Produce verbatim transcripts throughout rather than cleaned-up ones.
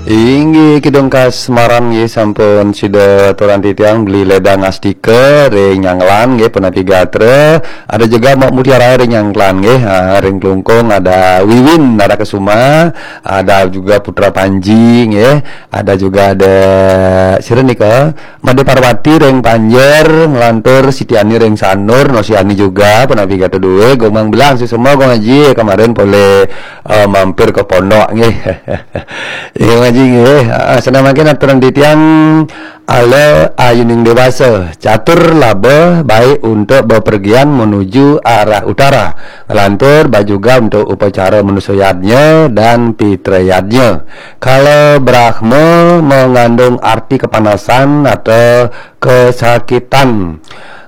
Inggih, Kidung Kasmaran nggih, sampun sida aturan titiang Beli Ledang Astika ring Nyanglan nggih, punapi gatra. Ada juga Mak Mutiara ring Nyanglan nggih. Ha, ring Klungkung ada Wiwin Nara Kesuma, ada juga Putra Panji nggih, ada juga ada sira nika, Made Parwati ring Panjer, nglantur Siti Ani ring Sanur, Nosi Ani juga, punapi gatra duwe, Gomang Belang sesama Gong Aji kemarin boleh eh, mampir ke pondok nggih. Iya ngaji nggih. Ah, senamakin aturan titiang ala ayuning dewasa. Catur laba baik untuk bepergian menuju arah utara. Lantur baik juga untuk upacara manusia yadnya dan pitra yadnya. Kala Brahma mengandung arti kepanasan atau kesakitan.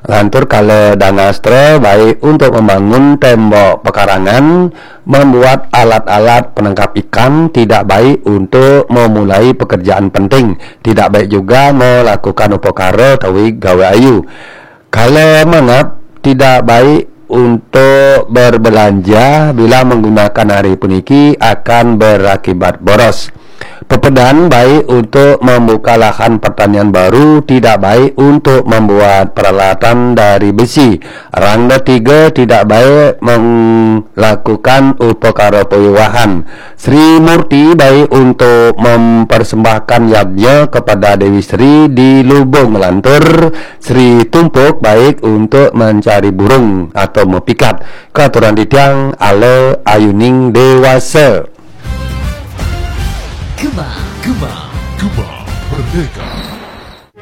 Lantur kala Dangastra baik untuk membangun tembok pekarangan, membuat alat-alat penangkap ikan, tidak baik untuk memulai pekerjaan penting, tidak baik juga melakukan upakara utawi gawe ayu. Kala Mangap tidak baik untuk berbelanja bila menggunakan hari puniki akan berakibat boros. Pepedan baik untuk membuka lahan pertanian baru, tidak baik untuk membuat peralatan dari besi. Rangda tiga tidak baik melakukan upakara pawiwahan. Sri Murti baik untuk mempersembahkan yadnya kepada Dewi Sri di Lubung Lantur. Sri Tumpuk baik untuk mencari burung atau mepikat. Katuran titiang ala ayuning dewasa. Gema, gema, gema, merdeka.